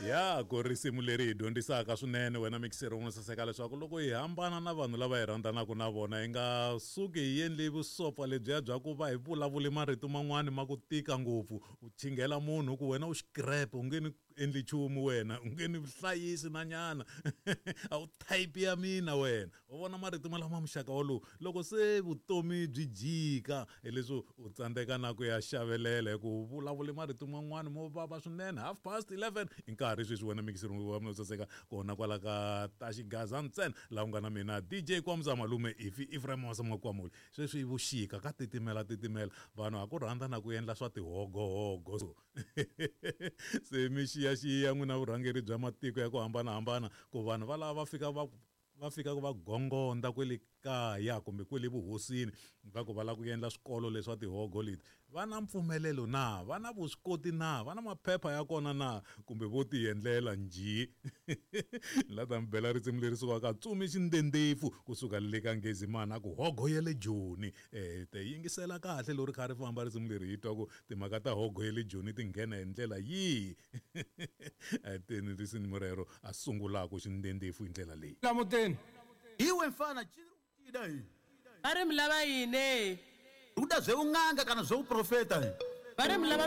Ya ku risimu leri hi dyondzisaka swinene wena mikiseri un'we saseka leswaku loko hi hambana na vanhu lava hi rhandzanaka na vona hi nga suki hi endli vusopfa lebyiya bya ku va hi vulavule marito man'wani ma ku tika ngopfu. U chinghela munhu ku wena u xikrepe u nge ni endli nchumu wena u nge ni hlayisi na nyana. A wu type ya mina wena. U vona marito ma lama muxaka wolowo loko se vutomi byi jika hileswi u tsandzeka na ku ya xavelela hi ku vulavule marito man'wani mo vava swinene. 11:30 i nkarhi sweswi wena mikiseri wa mina saseka kona kwala ka ta xigaza ntsena laha u nga na mina DJ Kwamza malume ifi Ephraim Masamakwamuli. Sweswi vuxika ka titimela titimela vanhu ha ku rhandza na ku endla swa tihogohogo. So se mi xiyaxiya n'wina vurhangeri bya matiko ya ku hambanahambana ku vanhu va lava va fika va va fika va gongonda kwele kaya kumbe kwele vuhosini va ku va lava ku endla swikolo leswa tihogo leti. Va na mpfumelelo na? Va na vuswikoti na? Va na maphepha ya kona na? Kumbe vo ti endlela njhe? La ta mi bela risimu leri sukaka Tsumi Xindendefu kusuka le ka Ngezimana a ku hogo ya le Joni. Te yingisela kahle loko ri kha ri famba risimu leri hi twa ku timhaka ta hogo ya le Joni ti nghena hi ndlela yihi. Teni risimu rero a sungulaku Xindendefu hi ndlela leyi. Lamuteni. Iwe mfana chini ri ku hi. Va ri mi lava yini? Ri kuda zveun'anga kana zveuprofeta hi. Va ri mi lava.